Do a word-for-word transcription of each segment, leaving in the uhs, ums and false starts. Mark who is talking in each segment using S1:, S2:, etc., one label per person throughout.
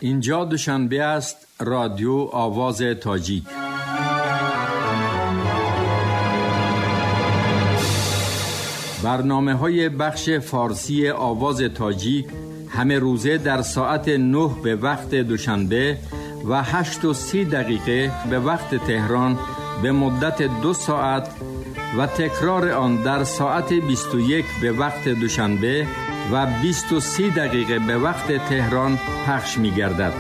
S1: Инҷо Душанбе аст, Радио Овози Тоҷик. Барномаҳои бахши форсии Овози Тоҷик ҳама рӯза дар соати нӯҳ ба вақти Душанбе ва ҳашт ва си дақиқа ба вақти Теҳрон ба муддати ду соат ва такрори он дар соати бисту як ба вақти Душанбе ва бисту си дақиқа ба вақти Теҳрон пахш мегардад.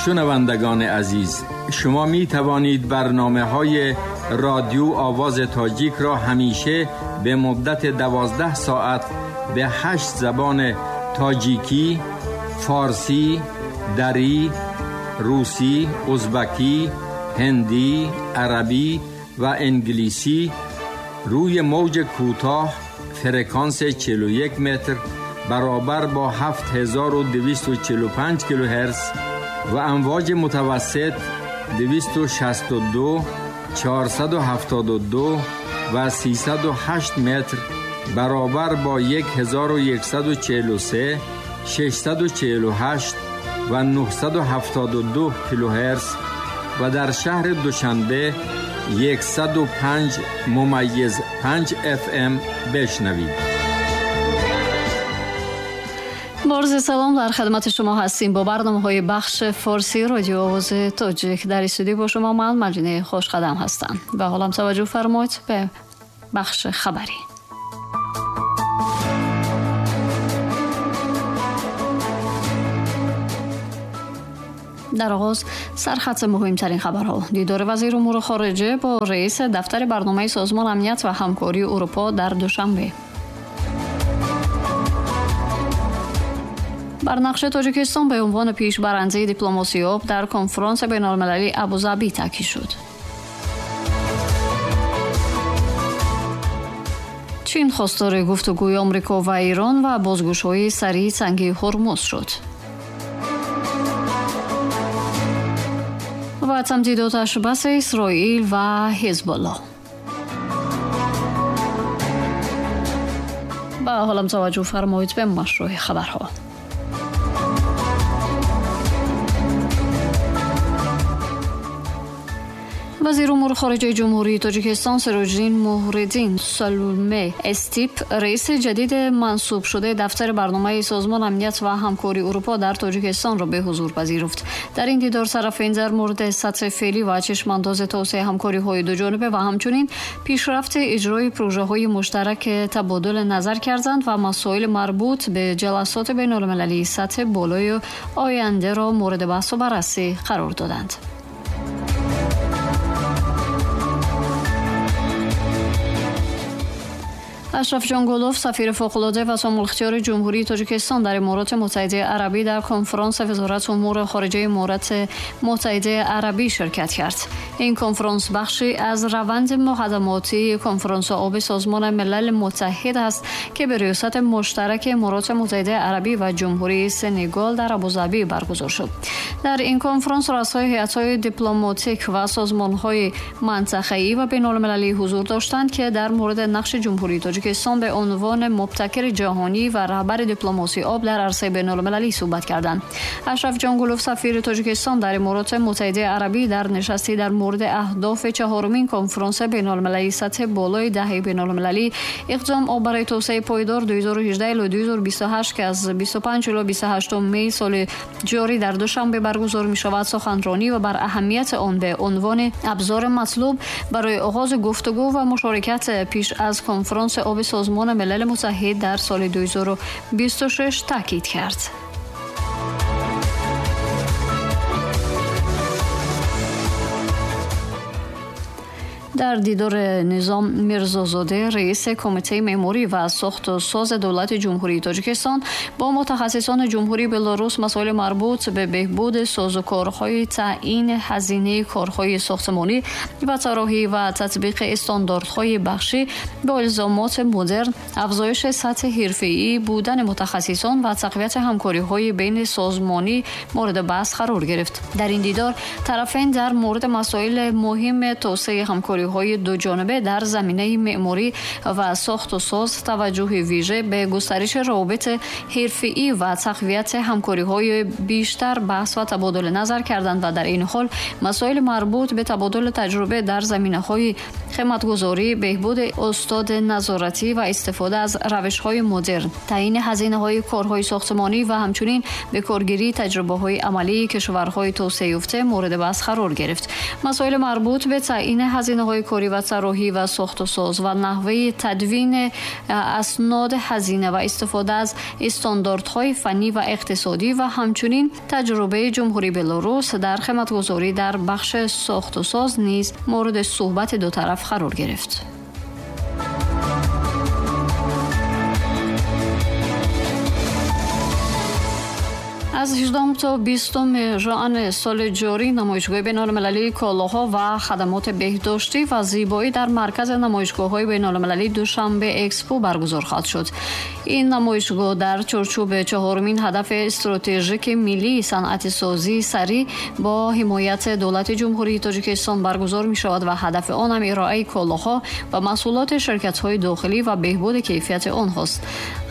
S1: Шунавандагони азиз, шумо метавонед барномаҳои Радио Овози Тоҷикро ҳамеша ба муддати дувоздаҳ соат ба ҳашт забони тоҷикӣ, форсӣ, дарӣ, русӣ, узбакӣ, ҳиндӣ, арабӣ ва англисӣ рӯи мавҷи кӯтоҳ фреквенс чил ва як метр баробар бо ҳафт ҳазору дувисту чилу панҷ килогерц ва амвоҷи мутавассит дувисту шасту ду, чорсаду ҳафтоду ду ва сесаду ҳашт метр баробар бо як ҳазору яксаду чилу се, шашсаду чилу ҳашт ва нӯҳсаду ҳафтоду ду килогерц ва дар шаҳри Душанбе яксаду панҷ мумайиз панҷ эф эм бишнавед.
S2: Бо арзи салом дар хидмати шумо ҳастем бо барномаҳои бахши форсии Радио Овози Тоҷик. Дар студия бо шумо ман Маҷинаи Хушқадам ҳастам. Ва ҳоло ҳам таваҷҷӯҳ фармоед ба бахши хабарӣ. Дар оғоз сархати муҳимтарин хабарҳо. Дидори вазири умури хориҷа бо раиси дафтари барномаи Созмони Амният ва Ҳамкории Аврупо дар Душанбе. Бар нақши Тоҷикистон ба унвони пешбарандаи дипломасии об дар конфронси байналмилалии Абузабӣ таъкид шуд. Чин хостори гуфтугӯи Амрико ва Эрон ва бозгушоии сариъи танги Ҳурмуз шуд. Ва тамдиди оташбаси Исроил ва Ҳизбуллоҳ. Ба ҳолам таваҷҷӯҳ фармоед ба машрӯи хабарҳо. Вазири умури хориҷаи Ҷумҳурии Тоҷикистон Сироҷиддин Муҳриддин Салуме Эстип, раиси ҷадиди мансубшудаи дафтари барномаи Созмони Амният ва Ҳамкории Аврупо дар Тоҷикистонро ба ҳузур пазируфт. Дар ин дидор тарафайн дар мавриди сатҳи феълӣ ва чашмандози тавсеаи ҳамкориҳои дуҷониба ва ҳамчунин пешрафти иҷрои прожаҳои муштарак табодули назар карданд ва масоили марбут ба ҷаласоти байналмилалии сатҳи болои ояндаро мавриди баҳсу баррасӣ қарор доданд. Ашраф Ҷонгулов, сафири фавқулода ва сомулихтиёри Ҷумҳурии Тоҷикистон дар Имороти Муттаҳидаи Арабӣ дар конфронси Вазорати умури хориҷаи Имороти Муттаҳидаи Арабӣ ширкат кард. Ин конфронс бахше аз раванди муқаддамотии конфронси оби Созмони Милали Муттаҳид аст, ки ба риёсати муштараки Имороти Муттаҳидаи Арабӣ ва Ҷумҳурии Сенегал дар Абузабӣ баргузор шуд. Дар ин конфронс раъсои ҳайатҳои дипломатик ва созмонҳои мантақаӣ ва байналмилалӣ ҳузур доштанд, ки дар мавриди нақши Ҷумҳурии Тоҷикистон ба унвони мубтакири ҷаҳонӣ ва раҳбари дипломасии об дар арсаи байналмилалӣ суҳбат карданд. Ашраф Ҷонгулов, сафири Тоҷикистон дар Имороти Муттаҳидаи Арабӣ, дар нишасте дар мавриди аҳдофи чаҳорумин конфронси байналмилалии сатҳи болои даҳаи байналмилалӣ иқдом об барои тавсеаи пойдор ду ҳазору ҳаждаҳ то ду ҳазору бисту ҳашт, ки аз бисту панҷ то бисту ҳаштуми май соли ҷорӣ дар Душанбе баргузор мешавад, суханронӣ ва бар аҳамияти он ба унвони абзори матлуб барои оғози гуфтугӯ ва мушорикат пеш аз конфронси оби Созмони Милали Муттаҳид дар соли ду ҳазору бисту шаш таъкид кард. Дар дидори Низом Мирзозода, раиси Кумитаи меъморӣ ва сохту сози давлати Ҷумҳурии Тоҷикистон, бо мутахассисони Ҷумҳурии Беларус масоили марбут ба беҳбуди созукорҳои таъйини ҳазинаи корҳои сохтмонӣ ва тарроҳӣ ва татбиқи стандартҳои бахшӣ бо илзомоти модерн, афзоиши сатҳи ҳирфаӣ будани мутахассисон ва тақвияти ҳамкориҳои байни созмонӣ мавриди баҳс қарор гирифт. Дар ин дидор тарафайн дар мавриди масоили муҳими тавсеаи ҳамкориҳои همکاری‌های دو جانبه در زمینه معماری و ساخت و ساز توجه ویژه به گسترش روابط حرفه‌ای و تقویت همکاری‌های بیشتر بحث و تبادل نظر کردند و در این حال مسائل مربوط به تبادل تجربه در زمینه‌های خدمت‌گزاری، بهبود استاد نظارتی و استفاده از روش‌های مدرن، تعیین هزینه‌های کارهای ساختمانی و همچنین به کارگیری تجربه‌های عملی کشورهای توسعه یافته مورد بحث قرار گرفت. مسائل مربوط به تعیین هزینه‌های کاری و طراحی و ساخت و ساز و نحوه تدوین اسناد هزینه و استفاده از استانداردهای فنی و اقتصادی و همچنین تجربه جمهوری بلاروس در خدمت‌گزاری در بخش ساخت و ساز نیز مورد صحبت دو طرف قرار گرفت. از هجدهم تا بیستم ژوئن سال جاری نمایشگاه بین‌المللی کالاها و خدمات بهداشتی و زیبایی در مرکز نمایشگاه‌های بین‌المللی دوشنبه اکسپو برگزار خواهد شد. این نمایشگاه در چارچوب چهارمین هدف استراتژیک ملی صنعت سازی سریع با حمایت دولت جمهوری تاجیکستان برگزار می‌شود و هدف آن هم ارائه کالاها و محصولات شرکت‌های داخلی و بهبود کیفیت آنهاست.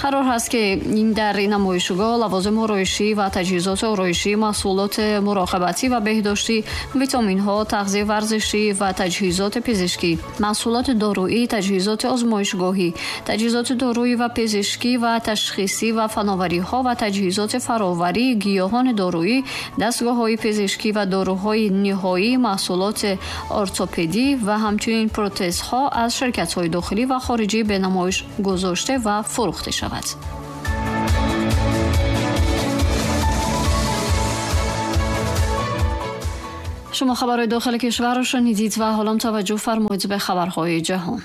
S2: قرار است که این در این نمایشگاه لوازم آرایشی و تجهیزات آرایشی، محصولات مراقبتی و بهداشتی، ویتامین‌ها، تغذیه ورزشی و تجهیزات پزشکی، محصولات دارویی، تجهیزات آزمایشگاهی، تجهیزات دارویی و پزشکی و تشخیصی و فناوری‌ها و تجهیزات فراوری گیاهان دارویی، دستگاه‌های پزشکی و داروهای نهایی، محصولات ارتوپدی و همچنین پروتزها از شرکت‌های داخلی و خارجی به نمایش گذاشته و فروخته شود. شما خبرهای داخل کشور را شنیدید و حالا توجه فرمایید به خبرهای جهان.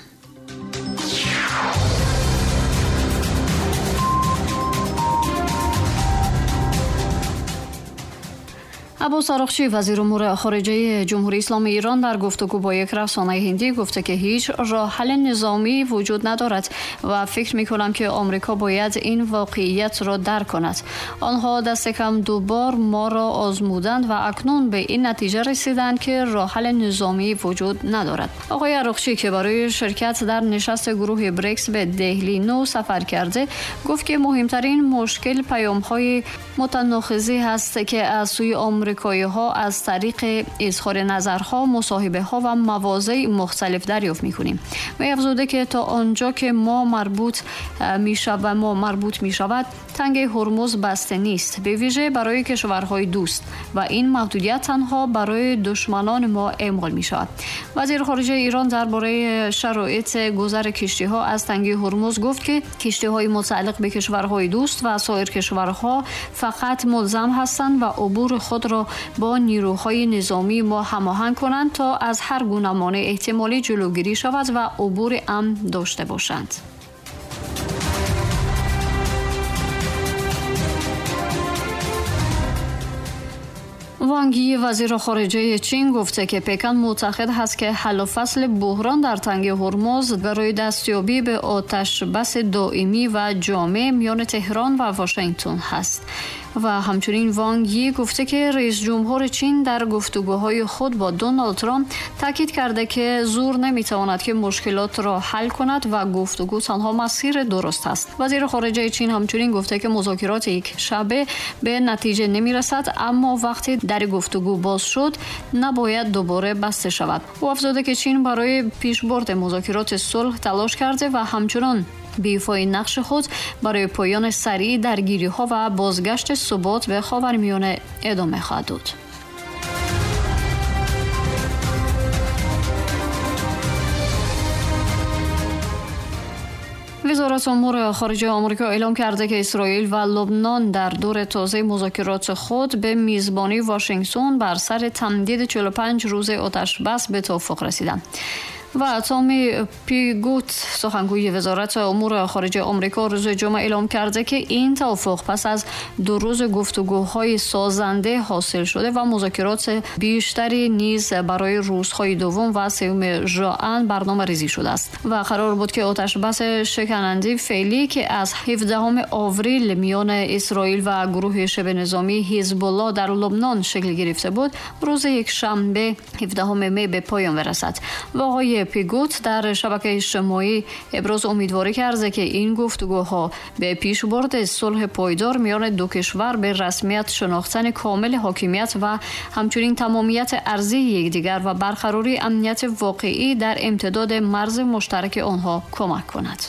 S2: عباس عراقچی وزیر امور خارجه جمهوری اسلامی ایران در گفتگو با یک رسانه هندی گفته که هیچ راه حل نظامی وجود ندارد و فکر می‌کنم که آمریکا باید این واقعیت را درک کند. آنها دست کم دو بار ما را آزمودند و اکنون به این نتیجه رسیدند که راه حل نظامی وجود ندارد. آقای عراقچی که برای شرکت در نشست گروه بریکس به دهلی نو سفر کرده گفت که مهمترین مشکل پیام‌های متناقضی هست که از سوی آمریکا ها از طریق اظهار نظرها، مصاحبه ها و مواضع مختلف دریافت می‌کنیم. و افزوده که تا آنجا که ما مربوط می‌شود و ما مربوط می‌شود تنگه هرمز بسته نیست، به ویژه برای کشورهای دوست و این محدودیت تنها برای دشمنان ما اعمال می‌شود. وزیر خارجه ایران درباره شرایط گذر کشتی‌ها از تنگه هرمز گفت که کشتی‌های متعلق به کشورهای دوست و سایر کشورها فقط ملزم هستند و عبور خود را با نیروهای نظامی ما هماهنگ کنند تا از هر گونه مانع احتمالی جلوگیری شود و عبور امن داشته باشند. وانگ یی وزیر خارجه چین گفته که پکن معتقد است که حل و فصل بحران در تنگه هرمز برای دستیابی به آتش بس دائمی و جامع میان تهران و واشنگتن هست. و همچنین وانگ یی گفته که رئیس جمهور چین در گفتگوهای خود با دونالد ترامپ تاکید کرده که زور نمیتواند که مشکلات را حل کند و گفتگو تنها مسیر درست است. وزیر خارجه چین همچنین گفته که مذاکرات یک شبه به نتیجه نمیرسد، اما وقتی در گفتگو باز شد نباید دوباره بسته شود. او افزوده که چین برای پیشبرد مذاکرات صلح تلاش کرده و همچنان به ایفای نقش خود برای پایان سریع درگیری‌ها و بازگشت ثبات به خاورمیانه ادامه خواهد داد. وزارت امور خارجه آمریکا اعلام کرده که اسرائیل و لبنان در دور تازه مذاکرات خود به میزبانی واشنگتن بر سر تمدید چهل و پنج روز آتش بس به توافق رسیدند. و تامی پیگوت سخنگوی وزارت امور خارجه آمریکا روز جمعه اعلام کرده که این توافق پس از دو روز گفتگوهای سازنده حاصل شده و مذاکرات بیشتری نیز برای روزهای دوم و سوم ژوئن برنامه ریزی شده است و قرار بود که آتش بس شکننده فعلی که از هفدهم آوریل میان اسرائیل و گروه شبه نظامی حزب الله در لبنان شکل گرفته بود روز یک شنبه هفدهم می به پایان برسد. و آقای پیگوت در شبکه اجتماعی ابراز امیدواری کرده که این گفتگوها به پیشبرد صلح پایدار میان دو کشور، به رسمیت شناختن کامل حاکمیت و همچنین تمامیت ارضی یکدیگر و برقراری امنیت واقعی در امتداد مرز مشترک آنها کمک کند.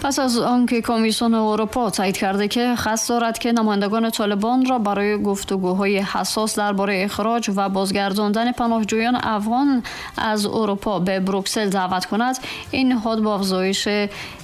S2: پس از آنکه کمیسیون اروپا تایید کرده که قصد دارد که نمایندگان طالبان را برای گفتگوهای حساس درباره اخراج و بازگرداندن پناهجویان افغان از اروپا به بروکسل دعوت کند، این نهاد با افزایش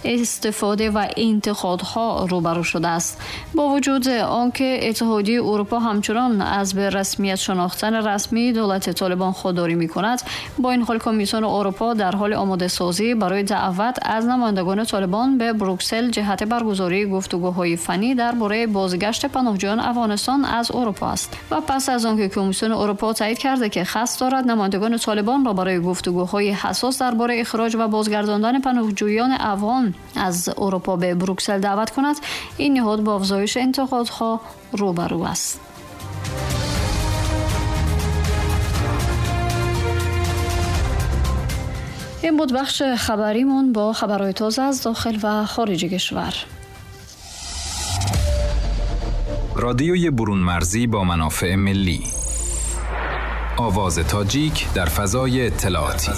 S2: استفاده و انتقادها روبرو شده است. با وجود آنکه اتحادیه اروپا همچنان از به رسمیت شناختن رسمی دولت طالبان خودداری می‌کند، با این حال کمیسیون اروپا در حال آماده سازی برای دعوت از نمایندگان طالبان به بروکسل جهت برگزاری گفتگوهای فنی درباره بازگشت پناهجویان افغانستان از اروپا است. و پس از آنکه کمیسیون اروپا تایید کرده که قصد دارد نمایندگان طالبان را برای گفتگوهای حساس درباره اخراج و بازگرداندن پناهجویان افغان از اروپا به بروکسل دعوت کند، این نهاد با افزایش انتقادها روبرو است. این بود بخش خبریمون با خبرهای تازه از داخل و خارج کشور.
S3: رادیوی برون مرزی با منافع ملی، آواز تاجیک در فضای اطلاعاتی.